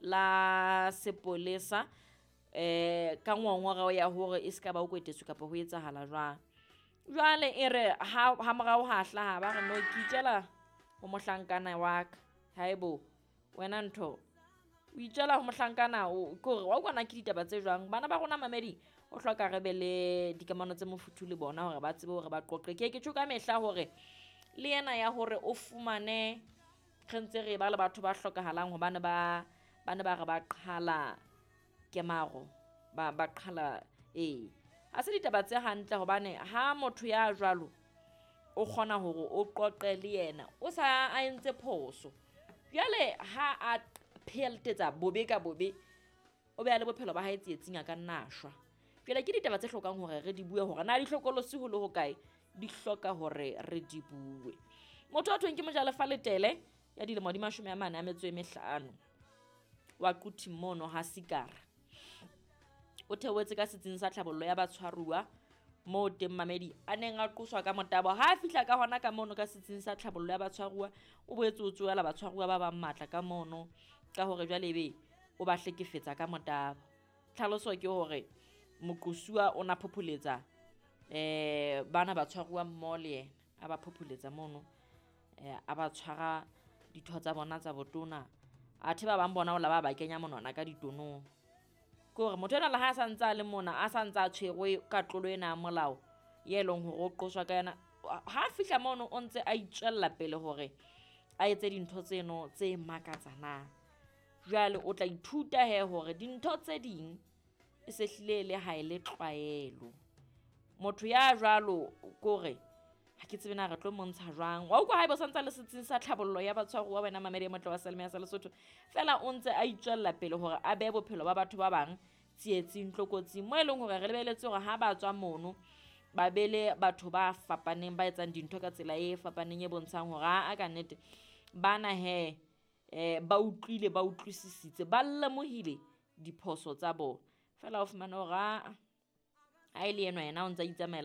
La sepolesa ka ngongoreo ya hore e se ka ba o kwetetswe kapa ho etsahala jwang. Jwale e re ha morao ha hlaha ba re no ke itjela ho mohlankana wa ka. Haebo wena ntho o itjela ho mohlankana o ke hore wa utlwa ke ditaba tse jwang. Bana ba rona mamedi o hloka re be le dikamano tse mofuthu le bona hore ba tsebe hore ba qoqe. Ke ke tjho ka mehla hore le ena ya hore o fumane re ntse re ba le batho ba hlokahalang hobane ba ne ba re ba qhala kemaro, ba qhala ee. Ha se ditaba tse hantle hobane ha motho ya jwalo o kgona hore o qoqe le yena o sa a entse phoso. Jwale ha a pheletsa bobe ka bobe, o beha le bophelo ba hae tsietsing a ka nna a shwa. Jwale ke ditaba tse hlokang hore re di bue hore na di hlokolosi ho le hokae, di hloka hore re di bue. Motho a thweng ke Mojalefa Letele ya dilemo di 45 wa Quthing mono ha Sikara. O theohetse ka setsing sa tlhabollo ya batshwaruwa moo teng mamedi a neng a qoswa ka motabo. Ha a fihla ka hona ka mono ka setsing sa tlhabollo ya batshwaruwa, o boetse o tsohela batshwaruwa ba bang matla ka mono ka hore jwale ebe o ba hlekefetsa ka motabo. Tlhaloso ke hore moqosuwa o na phopholetsa bana batshwaruwa mmoho le yena, a ba phopholetsa mono, a ba tshwara ditho tsa bona tsa botona. Athe ba bang bona o la ba kenya monwana ka ditonong. Ke hore motho enwa le ha a sa ntse a le mona, a sa ntse a tshwerwe ka tlolo ena ya molao ye leng hore o qoswa ka yona, ha fihla mono o ntse a itswella pele hore a etse dintho tseno tse makatsanang. Jwale o tla ithuta he hore dintho tse ding e se hlile le ha e le tlwaelo. Motho ya jwalo kore ha ke tsebe na re tlo montsha jwang. Wa utlwa haeba o santsa le setsing sa tlhabollo ya batshwaruwa wena mamedi e motle wa Selemo ya sa Lesotho, fela o ntse a itswella pele hore a behe bophelo ba batho ba bang tsietsing, tlokotsing, moo e leng hore re lebeletse hore ha ba tswa mono ba bele batho ba fapaneng ba etsang dintho ka tsela e fapaneng e bontshang hore a ka nnete bana he ba utlwile, ba utlwisisitse, ba lemohile diphoso tsa bona. Fela o fumane hore ha e le enwa yena o ntsa itsamaela.